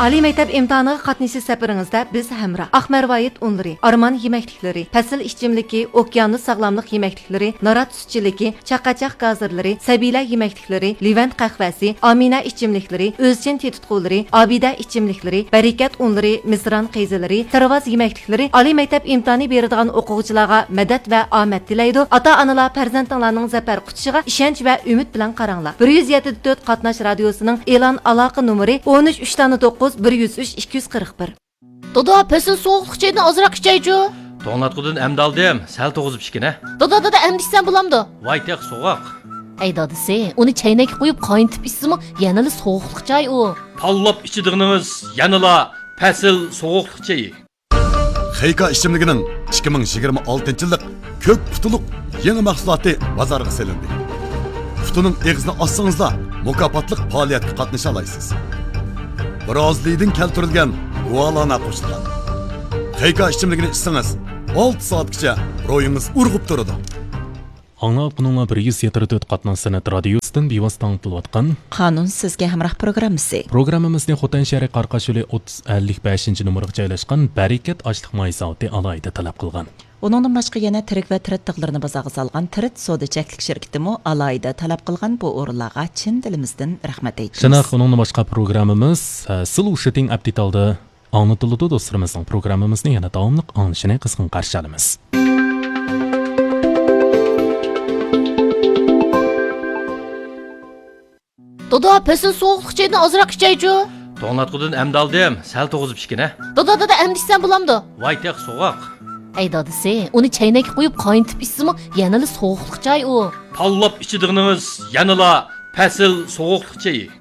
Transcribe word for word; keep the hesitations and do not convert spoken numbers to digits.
ئالىي مەكتەپ ئىمتىھانىغا قاتنىشىش سەپىرىڭىزدە بىز ھەمراھ. ئاق مەرۋايىت ئۇنلىرى، ئارمان يېمەكلىكلىرى، پەسىل ئىچىملىكى، ئوكيانۇس ساغلاملىق يېمەكلىكلىرى، نارات سۈتچىلىكى، چاقاچاق گازىرلىرى، سەبىيلەر يېمەكلىكلىرى، لېۋەنت قەھۋەسى، ئامىنە ئىچىملىكلىرى، ئۆزچىن تېتىتقۇلىرى، ئابىدە ئىچىملىكلىرى، بەرىكەت ئۇنلىرى، مىسران قېزىلىرى، سىرۋاز يېمەكلىكلىرى، ئالىي مەكتەپ ئىمتىھانى بېرىدىغان ئوقۇغۇچىلارغا مەدەت ۋە ئامەت تىلەيدۇ. ئاتا-ئانىلار پەرزەنتىڭلارنىڭ زەپەر قۇچۇشىغا ئىشەنچ ۋە ئۈمىد بىلەن قاراڭلار. بىر يۈز يەتتە تۆت قاتناش رادىيوسىنىڭ ئېلان ئالاقە نومۇرى: ئون ئۈچ، ئۈچ دانە توققۇز، بىر يۈز ئۈچ، ئىككى يۈز قىرىق بىر. دادا، پەسىل سوغۇقلۇق چايدىن ئازراق ئىچەيچۇ. توڭلاتقۇدىن ئەمدى ئالدىم، سەل توغۇزۇپ ئىچكىنە. دادا، دادا، ئەمدى ئىچسەم بولامدۇ؟ ۋاي تېخى سوغۇق. ئەي دادىسى، ئۇنى چەينەككە قۇيۇپ قاينىتىپ ئىچسىمۇ يەنىلا سوغۇقلۇق چاي ئۇ. تاللاپ ئىچىدىغىنىڭىز يەنىلا پەسىل سوغۇقلۇق چېيى. خېيكا ئىچىملىكىنىڭ ئىككى مىڭ يىگىرمە ئالتىنچى يىللىق كۆك قۇتىلىق يېڭى مەھسۇلاتى بازارغا سېلىندى. قۇتىنىڭ ئېغىزىنى ئاچسىڭىزلا، مۇكاپاتلىق پائالىيەتكە قاتنىشالايسىز. برازىلىيىدىن كەلتۈرۈلگەن گۇالانا قوشۇلغان. خېيكا ئىچىملىكىنى ئىچسىڭىز، ئالتە سائەتكىچە روھىڭىز ئۇرغۇپ تۇرىدۇ. ئاڭلاۋاتقىنىڭلار بىر يۈز يەتتە تۆت قاتناش سەنئەت رادىيوسىدىن بىۋاسىتە ئاڭلىتىلىۋاتقان قانۇن سىزگە ھەمراھ پروگراممىسى. پروگراممىمىزنى خوتەن شەھىرى قارقاش يولى ئوتتۇز ئەللىك بەشىنچى نومۇرغا جايلاشقان بەرىكەت ئاشلىق ماي زاۋۇتى ئالاھىدە تەلەپ قىلغان. ئۇنىڭدىن باشقا يەنە تىرىك ۋە تىرىت تىغلىرىنى بازارغا سالغان تىرىت سودا چەكلىك شىركىتىمۇ ئالاھىدە تەلەپ قىلغان. بۇ ئورۇنلارغا چىن دىلىمىزدىن رەھمەت ئېيتىمىز. شۇنداق، ئۇنىڭدىن باشقا پروگراممىمىز، ھە، سلوشىتىڭ ئەپ دېتالدا ئاڭلىتىلىدۇ. دوستلىرىمىزنىڭ پروگراممىمىزنى يەنە داۋاملىق ئاڭلىشىنى قىزغىن قارشى ئالىمىز. دادا، پەسىل سوغۇقلۇق چايدىن ئازراق ئىچەيچۇ. توڭلاتقۇدىن ئەمدى ئالدىم، سەل توغۇزۇپ ئىچكىنە. دادا، دادا، ئەمدى ئىچسەم بولامدۇ؟ ۋاي تېخى سوغۇق. ئەي دادىسى، ئۇنى چەينەككە قۇيۇپ قاينىتىپ ئىچسىمۇ يەنىلا سوغۇقلۇق چاي ئۇ. تاللاپ ئىچىدىغىنىڭىز يەنىلا پەسىل سوغۇقلۇق چېيى.